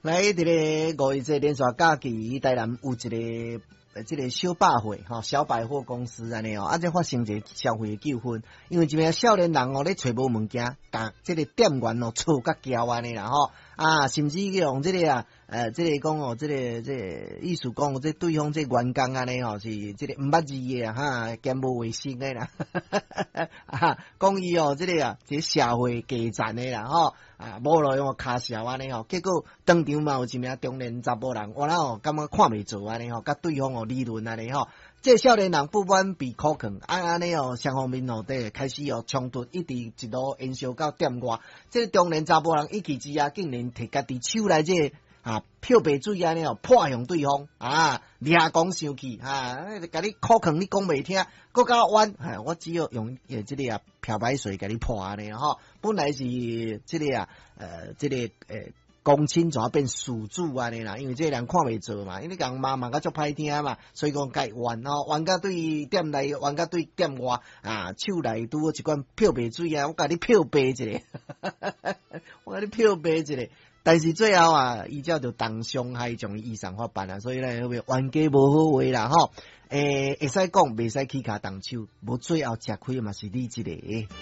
來，佇咧五一節連續假期，台南有一個這個小百貨吼，小百貨公司按呢哦，啊，這發生一個消費糾紛，因為一名少年人哦咧揣無物件，共這個店員哦吵甲交按呢啦吼，啊，甚至用這個啊，這個講哦，這個意思講，這對方這員工按呢吼是這個毋捌字的哈，兼無衛生的啦，啊，講伊哦，這個啊，這個社會低層的啦吼。啊，無路用跤潲按呢吼，結果當場嘛有一名中年查埔人，哇哦，感覺看袂做按呢吼，佮對方哦理論按呢吼，這個少年人不滿被苦勸，啊按呢哦，雙方面哦，佇開始哦衝突，一直一路延燒到店外。這個中年查埔人一氣之下，竟然提家己手內這個啊漂白水按呢哦潑向對方，啊，掠講生氣，啊，共你苦勸你講袂聽，閣較冤，我只有用這個啊漂白水共你潑按呢吼。本來是這個啊，這個公親怎變事主按呢啦？因為這個人看袂做嘛，因為共罵罵甲足歹聽嘛，所以講共冤吼，冤甲對店內，冤甲對店外啊，手內拄好一罐漂白水啊，我共你漂白一下，我共你漂白一下。但是最後啊，伊才就重傷害將伊移送法辦啊，所以咧，冤家無好話啦吼。會使講，袂使起跤動手，無最後吃虧嘛是你一個。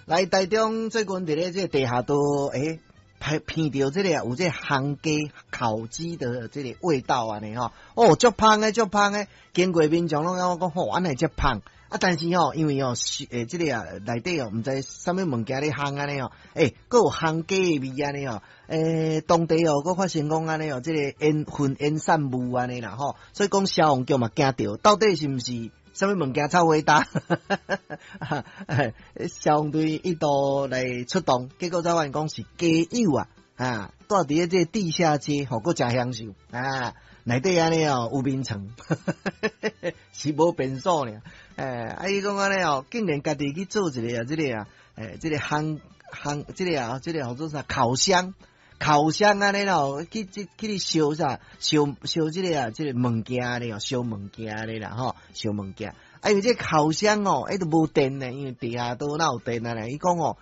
來，台中最近佇咧這個地下道，聞著這個有這個烘雞烤雞的這個味道按呢吼，哦，足芳的，足芳的，經過民眾攏講講吼，按呢遮芳啊，但是吼，因為吼，是這個啊內底哦，毋知啥物物件咧烘按呢吼，閣有烘雞的味按呢吼，當地哦，閣發現講按呢哦，這個煙燻煙散霧按呢啦吼，所以講消防局嘛驚著，到底是毋是？啥物物件臭火焦？消防隊一度來出動，結果才發現講是街友啊，啊，蹛佇咧這個地下街，吼，閣誠享受啊，內底按呢哦有眠床，是無便所爾。啊，伊講按呢哦，竟然家己去做一個啊，這個啊，這個烘烘，這個啊，這個叫做啥烤箱。烤箱按呢咯，去去去燒啥？燒燒這個啊，這個物件咧哦，燒物件咧啦吼，燒物件。啊，因為這個烤箱哦，伊都無電呢，因為地下道哪有電啊咧？伊講哦。